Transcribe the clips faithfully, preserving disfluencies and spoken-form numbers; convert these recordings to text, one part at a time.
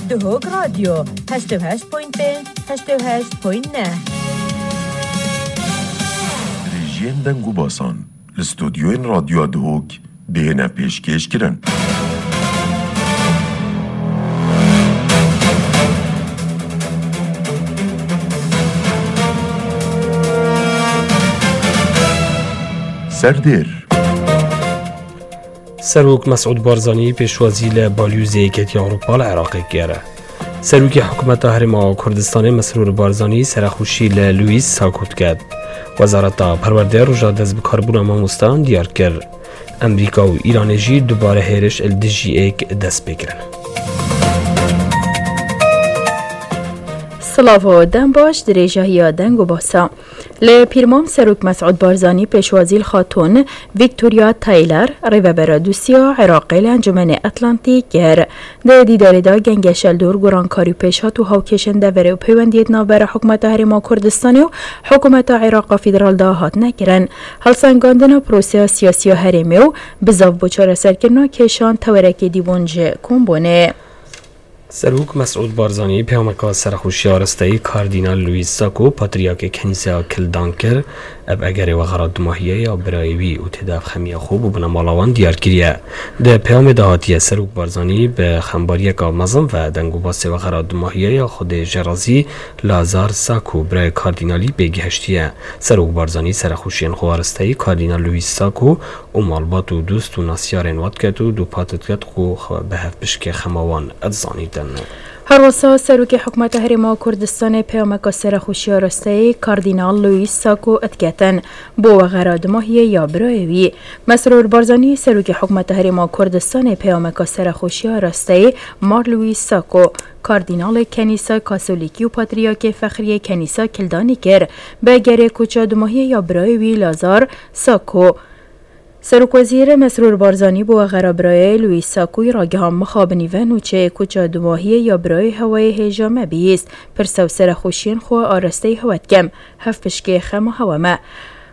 Duhok Radyo, heşt û heşt point pênc, heşt û heşt point neh. Dirêjiyên deng û basan li stûdyoyên Radyoya Duhok dihêne pêşkêşkirin. Serdêr. Serok Mesûd Barzanî pêşwazî li balyozê Yekîtiya Ewropa li Iraqê kir. Serokê Hikûmeta Herêma Kurdistanê Mesrûr Barzanî serexweşî li Louis Sako diket. Wezareta Perwerdê roja destbikarbûna mamosteyan diyar kir. Amerîka û Îranê jî dubare hêriş li dijî êk dest pê kirin. Silav û dem baş, dirêjahiya deng û basa. Li Pîrmam Serok Mesûd Barzanî pêşwazî li Xatûn Victoria Taylor, rêvebera dosiya Iraqê li Encûmenê Atlantî kir. Di dîdarê de gengeşe li dor gorankarî û pêşhat û hawkêşên deverê û peywendiyê di navbera Hikûmeta Herêma Kurdistanê û Hikûmeta Iraqa Federal de hatine kirin. Helsengandina proseya siyasî ya herêmê û bizav bo çareserkirina kêşan tewerekê dîbûn ji kom bûnê. Serok Mesûd Barzanî peyameka serexweşiya rasteyî Kardînal Louis Sako, Patriyakê Kenîseya Kildan kir. Ev egerê wexera dumahiyê ya birayê wî û tê de ev xemiya xwe bo binemala wan diyar kiriye. Di peyamê de hatiye Serok Barzanî bi xembariyeka mezin ve deng û basê wexera dumahiyê ya Xwedê jê razî Lazar Sako, birayê Kardînalî pê gihiştiye. Serok Barzanî serexweşiyên xwe arasteyî Kardînal Louis Sako û malbat û dost û nasyarên wan diket û dûpat diket ku xwe bi hevpişkê xema wan dizanîtin. Herwesa Serokê Hikûmeta Herêma Kurdistanê peyameka serexweşiya rasteyî Kardînal Louis Sako diketin bo wexera dumahiyê ya birayê wî. Mesrûr Barzanî, Serokê Hikûmeta Herêma Kurdistanê peyameka serexweşiya rasteyî Mar Louis Sako, Kardînalê Kenîsa Kasolîkî û Patriyakê Fexriyê Kenîsa Kildanî kir, bi egerê koça dumahiyê ya birayê wî Lazar Sako. Serokwezîr Mesrûr Barzanî bi wexera birayê Louis Sakoyî ragiha mixabinî ve nûçeyê koça dumahiyê ya birayê hewayê hêja me bihîst. Pirse û serexweşiyên xwe arasteyî hewe dikim. Hevpişkê xema hewe me.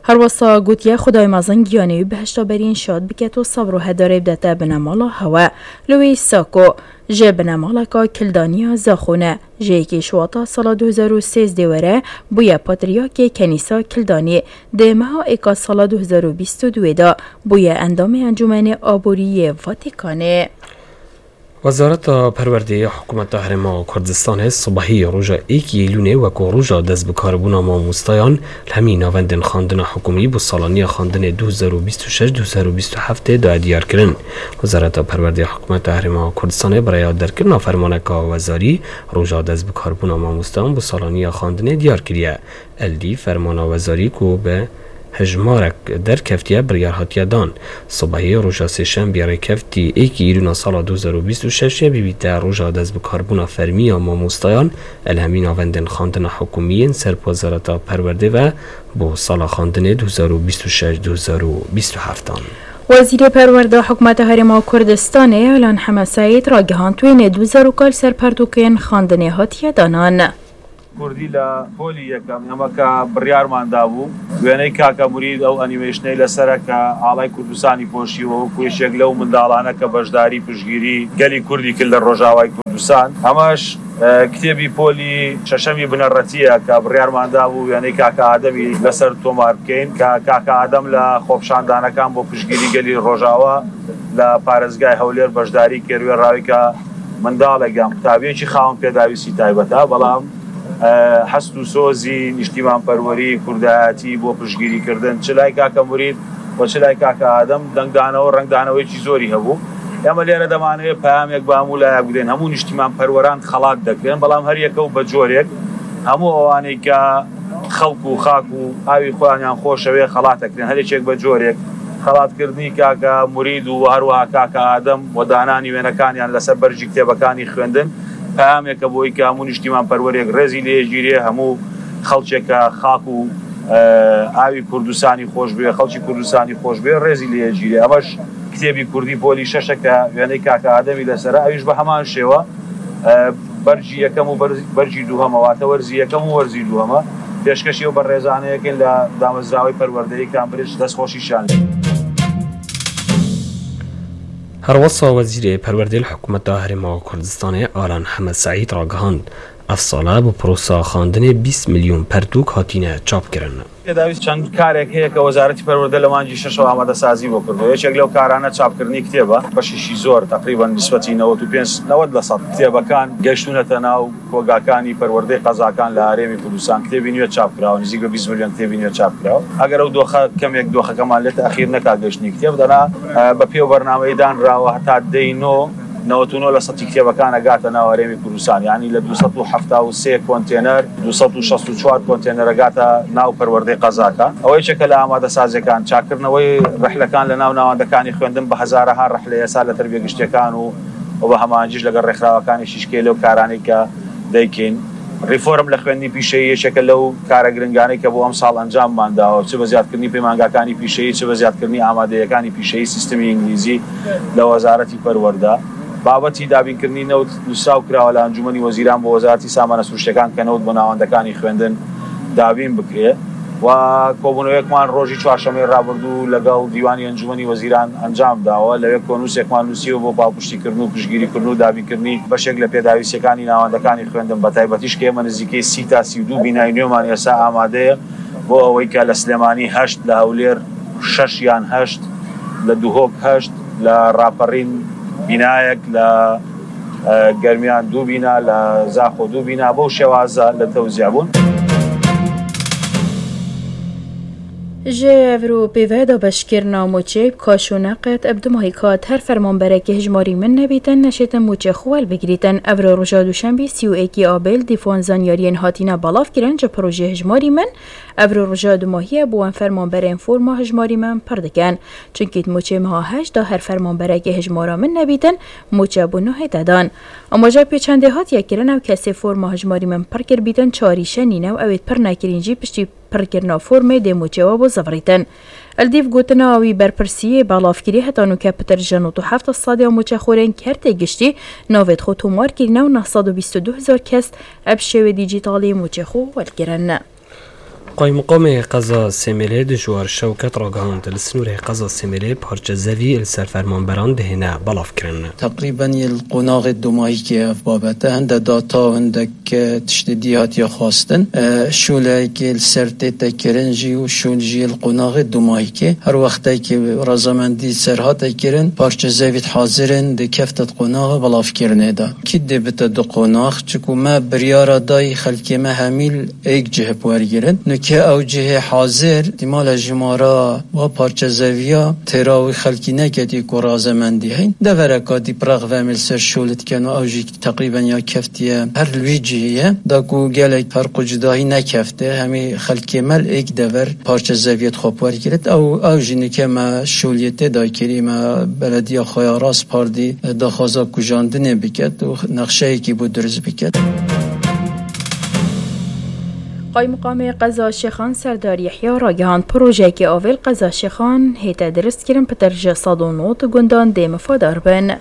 Herwesa gotiye, Xwedayê mezin giyanê wî bihişta berîn şad biket û sebr û hedarê bidete binemala hewe. Louis Sako, ji binemaleka Kildaniya Zaxo ne. Ji yekê Şuwata sala du hezar û sêzdeh were bûye Patriyakê Kenîsa Kildanî. Di meha êka sala du hezar û bîst û duyê de bûye endamê Encûmenê Aborî yê Vatîkanê. Wezareta Perwerdê ya Hikûmeta Herêma Kurdistanê sibehî roja êkê Îlûnê weko roja destbikarbûna mamosteyan li hemî navendên xandina hikûmî bo salaniya xandinê du hezar û bîst û şeş du hezar û bîst û heft de daye diyar kirin. Wezareta Perwerdê ya Hikûmeta Herêma Kurdistanê bi rêya derkirina fermaneka wezarî roja destbikarbûna mamosteyan bo salaniya xandinê diyar kiriye. Êdî fermana wezarî ku bi hejmarek derkeftiye, biryar hatiye dan. Sibehê roja sêşembê rêkeftî êkê Îlûna sala du hezar û bîst û şeş bibîte roja destbikarbûna fermî ya mamosteyan li hemî navendên xandina hikûmî yên ser bi Wezareta Perwerdê ve bo sala xandinê du hezar û bîst û şeş du hezar û bîst û heft an. Wezîrê Perwerde Hikûmeta Herêma Kurdistanê Alan Heme Seîd ragihand wênê du zarokal ser pertûkên xandinê hatiye danan. کوردی لە پۆلی یەکەم ئێمە کە بڕیارمان دابوو، وێنەی کاکە مرید، ئەو ئەنیمەیشنەی لەسەرە کە ئاڵای کوردستانی پۆشیوە، وەکو یەکێک لەو منداڵانە کە بەشداری پشگیری گەلی کوردی کرد لە ڕۆژاوای کوردستان. ئەمەش، ئە، کتێبی پۆلی شەشەمی بنەڕەتیە کە بڕیارمان دابوو وێنەی کاکە ئادەمی لەسەر تۆمار بکەین، کە کاکە ئادەم لە خۆپشاندانەکان بۆ پشگیری گەلی ڕۆژاوا لە پارێزگای هەولێر بەشداری کرد، وێڕاوی کە منداڵێک یان قوتابیەکی خاوەن پێداویستی تایبەتە، بەڵام، ئە، هەست و سۆزی نیشتیمانپەروەری، کوردایەتی بۆ پشگیریکردن، چ لای کاکە مرید و چ لای کاکە ئادەم، دەنگدانەوە، ڕەنگدانەوەیەکی زۆری هەبوو. ئێمە لێرە دەمانەوێت پەیامێک بە هەموو لایەک بدەین. هەموو نیشتیمانپەروەران خەڵات دەکرێن، بەڵام هەر یەکە و بە جۆرێک، هەموو ئەوانەی کە خەڵک و خاک و ئاوی خۆیانیان خۆشەوێ خەڵات دەکرێن، هەر یەکێک بە جۆرێک. خەڵاتکردنی کاکە مرید و هەروەها کاکە ئادەم و دانانی وێنەکانیان لەسەر بەرگی کتێبەکانی خوێندن، پەیامێکە بۆی کە هەموو نیشتیمانپەروەرێک ڕێزی لێگیرێ، هەموو خەڵکێک کە خاک و، ئە، ئاوی کوردستانی خۆش بوێ، خەڵکی کوردستانی خۆش بوێ، ڕێزی لێگیرێ. ئەمەش کتێبی کوردی پۆلی شەشە کە وێنەی کاکە ئادەمی لەسەرە، ئەویش بە هەمان شێوە، ئە، بەرگی یەکەم و بەرز-، بەرگی دووهەمە، واتە وەرزی یەکەم و وەرزی دووهەمە. پێشکەشی ئەو بەڕێزانەیەکەین لە دامەزراوەی پەروەردەی کامبرج، دەستخۆشیشان لێ. Herwesa Wezîrê Perwerdê li Hikûmeta Herêma Kurdistanê Alan Hemed Seîd ragihand, ev sala bi prosa xwendinê bîst milyon pertûk hatine çapkirin. پێداویست چەند کارێک هەیە کە وەزارەتی پەروەردە لە مانگی شەشەوە ئامادەسازی بۆ کردو. یەکێک لەو کارانە چاپکردنی کتێبە، بەشێکی زۆر، تەقریبەن نسبەتی نەوەد و پێنج، نەوەد لە سەد کتێبەکان گەیشتونەتە ناو کۆگاکانی پەروەردەی قەزاکان لە هەرێمی کوردستان. کتێبی نوێ چاپکراوە، نزیک بە بیست ملیۆن کتێبی نوێ چاپکراوە. ئەگەر ئەو دۆخە کەمێک دۆخەکەمان لێ تەئخیر نەکا گەیشتنی کتێب، دەنا، ئە، بە پێ و بەرنامەی دانراوە هەتا دەی نۆ، نەوەد و نۆ لە سەدی کتێبەکان ئەگاتە ناو هەرێمی کوردستان، یعنی لە دوو سەد و حەفتا و سێ کۆنتێنەر، دوو سەد و شەست و چوار کۆنتێنەر ئەگاتە ناو پەروەردەی قەزاکان. ئەوەی چەکە لە ئامادەسازیەکان، چاکردنەوەی ڕەحلەکان لە ناو ناوەندەکان، خوێندن بە هەزارەها ڕەحلە ئێستا لە تەربیە گشتیەکان و، و بە هەمانجیش لەگەڵ ڕێکخراوەکانی شیشکێ لەو کارانەی کە دەیکەین. ریفۆرم لە خوێندنی پیشەیی یەکێکە لەو کارە گرنگانەی کە بۆ ئەم ساڵ ئەنجاممان داوە، چ بە زیادکردنی پەیمانگاکانی پیشەیی، چ بە زیادکردنی ئامادەیەکانی پیشەیی سیستمی ئینگلیزی لە وەزارەتی پەروەردە. بابەتی دابینکردنی نەوت نووسراو کراوە لە ئەنجومەنی وەزیران بۆ وەزارەتی سامانە سروشتەکان کە نەوت بۆ ناوەندەکانی خوێندن دابین بکرێ. و کۆبوونەوەیەکمان ڕۆژی چوارشەممەی ڕابردوو لەگەڵ دیوانی ئەنجومەنی وەزیران ئەنجام داوە. لەوێ کۆنووسێکمان نووسیوە بۆ پاڵپشتی کردن و پشتگیری کردن و دابینکردنی بەشێک لە پێداویستیەکانی ناوەندەکانی خوێندن، بە تایبەتیش کە ئێمە نزیکەی سی تا سی و دوو بینای نوێمان ئێستا ئامادەیە، بۆ ئەوەی کە لە سلێمانی هەشت، لە هەولێر شەش یان هەشت، لە دوهۆک هەشت، لە ڕاپەڕین بینایەک، لە، ئە، گەرمیان دوو بینا، لە زاخۆ دوو بینا، بەو شێوازە لە تەوزیع بوون. Ji evro pêve dabeşkirina mûçê bi kaş û neqet bi du mahî kat her fermanberekî hijmarî min nebîtin neşêtin mûçê xwe welbigirîtin. Evro roja duşembî sî û êkî Abril dîfan zanyariyên hatine belavkirin ji projê hijmarî min. Evro roja dumahî ye bo em fermanberên forma hijmarî min pir dikin. Çunkî di mûçê meha heşt de her fermanberekî hijmara min nebîtin, mûçe bo nû hête dan. Amaja pê çendê hatiye kirin, ew kesê forma hijmarî min pir kiribîtin, çarî şenî ne û ew ê pir nekirîn jî piştî pirkirina formê dê mûçê we bo zivirîtin. Li dîv gotina wî berpirsiyê belavkirî heta nûke pitir ji nod û heft sedî ya mûçexorên kertê giştî navê xwe tomar kirîne û neh sed û bîst û du hezar kes ev şêwê dîjîtalî mûçê xwe welkirin. Qaymiqamê qeza Sêmêlê Dijwar Şewket ragihand, li sinûrê qeza Sêmêlê parçe zevî li ser fermanberan dihêne belavkirin. Teqrîben yê li qonaxê domahîkê ev babet e. Hinde data û hindek, e, tiştê dî hatiye xwestin. E, şoleyekê li ser tête kirin jî û şol jî yê li qonaxê domahîkê. Her wextekê razamendî ser hate kirin, parçe zevî hazir in, dikefte di qonaxa belavkirinê de. Kî dê bite di qonax, çiku me biryara dayî xelkê me hemî li êk cih bi wergirin. Nûke ew cihê hazir, îhtîmale jimara wa parçe zeviya têra wî xelkî neketî ku razemendî heyn. Devereka dî piraq ve em ê li ser şolê dikin û ew jî teqrîben ya keftiye her li wî cihê ye. Da ku gelek ferq û cudahî nekefte, hemî xelkê me li êk dever parçe zeviyê xwe bi wergirit. Ew, ew jî nûke me şoliyê tê da kirî, me belediya xwe ya Raspardî daxwaza kujandinê biket û nexşeyekî bo dirust biket. Qaymiqamê qeza Şêxan Serdar Yehya ragihand, projeyekê avê li qeza Şêxan hête dirustkirin, pitir ji sed û nod gundan dê mifadar bin.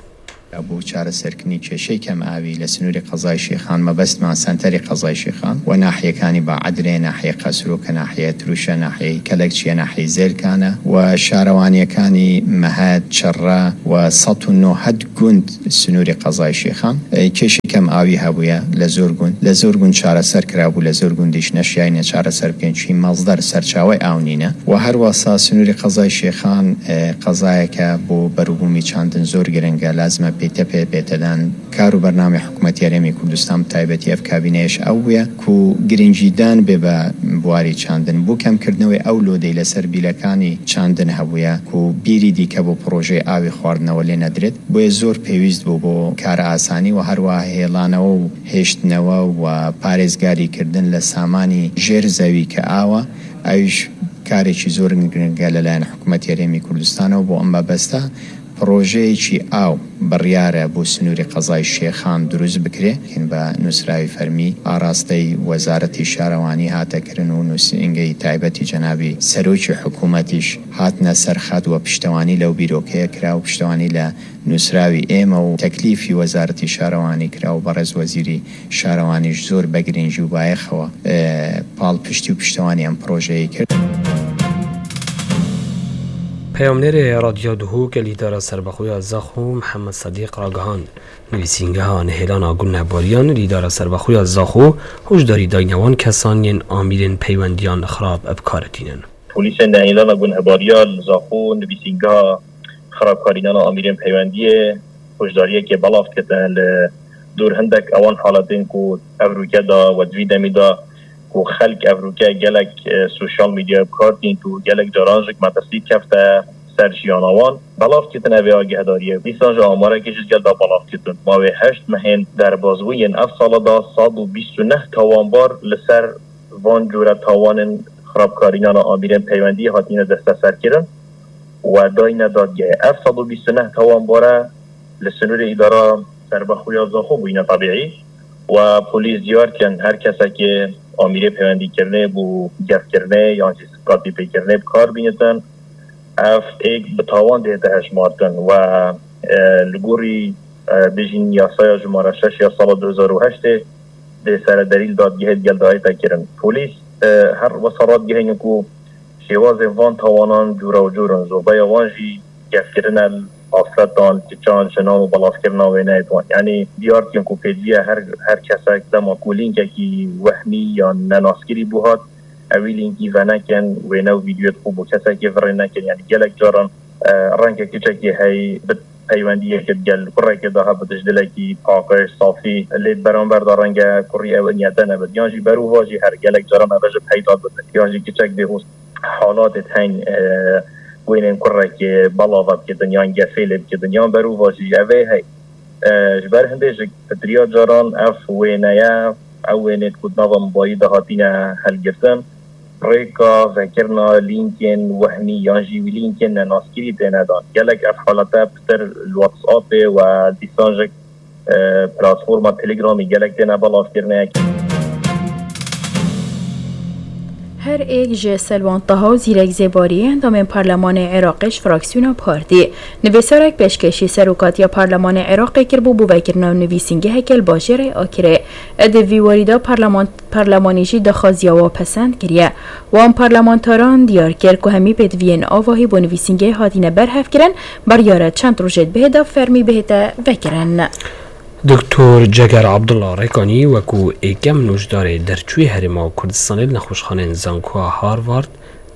بۆ چارەسەرکردنی کێشەی کەم ئاوی لە سنووری قەزای شێخان، مەبەستمان سەنتەری قەزای شێخان و ناحیەکانی باعەدرێ، ناحیە قەسرۆکە، ناحیە تروشە، ناحیەی کەلەکچیە، ناحیەی زێلکانە و شارەوانیەکانی مەهەد، چڕە و سەد و نۆ گوند سنووری قەزای شێخان. کێشەی کەم ئاوی هەبووە لە زۆر گوند، لە زۆر گوند چارەسەر کرابوو، لە زۆر گوندیش نەشیاینە چارەسەر بکەین، چی مەزدەر سەرچاوی ئاو نینە و هەروەسا سنووری قەزای شێخان، ئە، قەزایەکە بۆ بەروبوومی چاندن زۆر گرنگە، لازمە پێتە پێ بێتەدان. کار و بەرنامەی حکوومەتی هەرێمی کوردستان، بە تایبەتی ئەف کابینەیەش ئەو بووە، کو گرنگیدان بێ بە بواری چاندن، بۆ کەمکردنەوەی ئەو لۆدەی لەسەر بیلەکانی چاندن هەبووە، کو بیری دیکە بۆ پرۆژەی ئاوی خواردنەوە لێ نەدرێت. بۆیە زۆر پێویست بوو بۆ کارە ئاسانی و هەروەها هێڵانەوە و هێشتنەوە و پارێزگاریکردن لە سامانی ژێر زەوی کە ئاوە، ئەویش کارێکی زۆر گرنگە لەلایەن حکوومەتی هەرێمی کوردستانەوە. بۆ ئەم مەبەستە پرۆژەیەکی ئاو بڕیارە بۆ سنووری قەزای شێخان دروست بکرێ، بە نووسراوی فەرمی ئاراستەی وەزارەتی شارەوانی هاتەکردن و نووسینگەی تایبەتی جەنابی سەرۆکی حکوومەتیش هاتنە سەرخەت و پشتەوانی لەو بیرۆکەیە کرا و پشتەوانی لە نووسراوی ئێمە و تەکلیفی وەزارەتی شارەوانی کرا و بەڕێز وەزیری شارەوانیش زۆر بە گرنگی و بایەخەوە، ئێ، پاڵپشتی و پشتەوانی ئەم پرۆژەیە کرد. Peyamnêrê Radyo Duhok li Îdara Serbexwe ya Zaxo Mihemed Sedîq ragihand, nivîsîngeha nihêlana gunehbariyan li Îdara Serbexwe ya Zaxo hişdarî dayne wan kesan yên amîrên peywendiyan xirab bi kar tînin. Polîsên nehêlana gunehbariya li Zaxo nivîsîngeha xirabkarînana amîrên peywendiyê hişdariyekê belav kirtin li dûr hindek ewan haletên ku ev rûke da we di vî demî da ku xelk ev rûke gelek, e, sosyal medyaya bi kar tînt û gelek caran jî metirsî kefte ser jiyana wan. Belav kirtin ev ê agahdariyê. Dîsan jî amarekê ji gel da belav kirtin. Mawê heşt mehên derbazbûyên ev sala da sed û bîst û neh tawanbar li ser van cûre tawanên xirabkarînana amîrên peywendî hatine desteserkirin û dayne dadgehê. Ev sed û bîst û neh tawanbare li sinûrê Îdara Serbexwe ya Zaxo bûyîne tebîî û polîs diyar dikin her kesekê amîrê peywendîkirinê bû gefkirinê yan jî siqatîpêkirinê bi kar bînitin. Ev êk bi tawan dihête hejmartin û, e, li gorî, e, bêjin yasaya jimara şeş ya sala du hezar û heştê dê serederî li dadgehê digel dayête kirin. Polîs, e, her wesa radigihînin ku şêwazên van tawanan cûra û cûr in. Zobeya wan jî gefkirine li afretan, kiçan, jinan û belavkirina wêneyê wan. Yanî diyar dikin ku pêdiviya her, her kesek dema ku lînkekî wehmî yan nenaskirî bû hat, ewî lînkî venekin, wêne û vîdyoyê xwe bo kesekê virê nekin. Yanî gelek caran, e, renge kiçekê hey bi peywendiyeke digel kurekê de hebit ji dilekî paqij, safî, lê beramber de renge kurî ew niyete nebit. Yan jî berûva jî her gelek caran ev ji peyda bitin. Yan jî kiçek dê hûs halatê heyî, e, wênên kurekê belava bikitin yan gefê lê bikitin. Yan berûva jî ev ê hey. E, ji ber hindê ji pitiriya caran ev wêneye, ew wênê ku di nava mobayî de hatine helgirtin, rêka vekirina lînkên wehmî yan jî wî lînkên nenaskirî têne dan. Gelek ev halete pitir li WhatsAppê û dîsan jî, e, platforma Telegramê gelek têne belavkirinê. Her êk ji Selwan Taha û Zîrek Zêbarî, endamên Parlemanê Iraqê ji fraksiyona Partî, nivîsarek pêşkêşî Serokatiya Parlemanê Iraqê kiribû bo vekirina nivîsîngeheke li bajêrê Akirê. Di vî warî de parleman-, parlemanî jî daxwaziya wa pesend kiriye. Wan parlamentaran diyar kir ku hemî pêdiviyên avahî bo nivîsîngehê hatine berhevkirin, biryare çend rojê dibihê de fermî bihête vekirin. Doktor Ceger Abdullah Rekanî wekû êkem nûjdarê derçûyê Herêma Kurdistanê li nexweşxaneyên Zankoya Harvard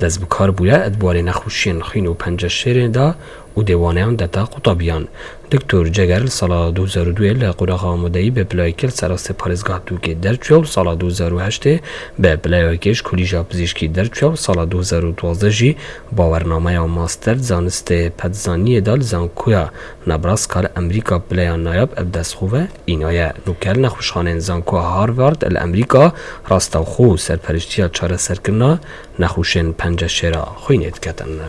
dest bi kar bûye, di warê nexweşiyên xwîn û penceşêrê de û dêwaneyan deta qutabiyan. Doktor Ceger li sala du hezar û duyê li qonaxa amadeyî bi pilayekê li ser astê parêzgeha Dûkê derçûye û li sala du hezar û heştê bi pilayekê ji Kolîja Pizîşkî derçûye û li sala du hezar û duwazdeh jî bawernameya master di zanistê petzaniyê de li Zankoya Nebraska li Amerîka pileya nayab ev dest xwe ve înaye. Nûke li nexweşxaneyên Zankoya Harvard li Amerîka rastewxo serperiştiya çareserkirina nexweşên penceşêra xwînê diketin.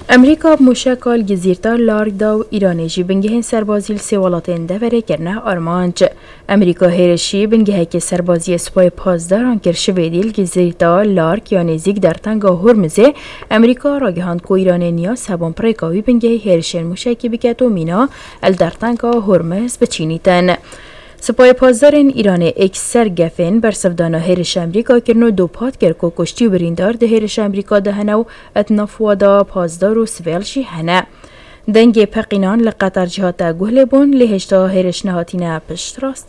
Amerîka bi mûşeka li Gizîrta Lark da û Îranê jî bingehên serbazî li sê welatên deverê kirine armanc. Amerîka hêrişî bingehekê serbaziyê Supayê Pasdaran kir şivêdî li Gizîrta Lark ya nêzîk dertenga Hormizê. Amerîka ragihand ku Îranê niya sebon bi rêka wî bingehî hêrişên mûşekî biket û mîna li dertenga Hormiz biçînîtin. Supayê Pasdarên Îranê êk ser gefên bersivdana hêrişa Amerîka kirin û dopat kir ku kuştî û birîndar di hêrişa Amerîka de hene û di nav wa de pazdar û sivêl jî hene. Dengê peqînan li Qeter jî hate guhlêbûn, lê hêşta hêriş nehatine piştrast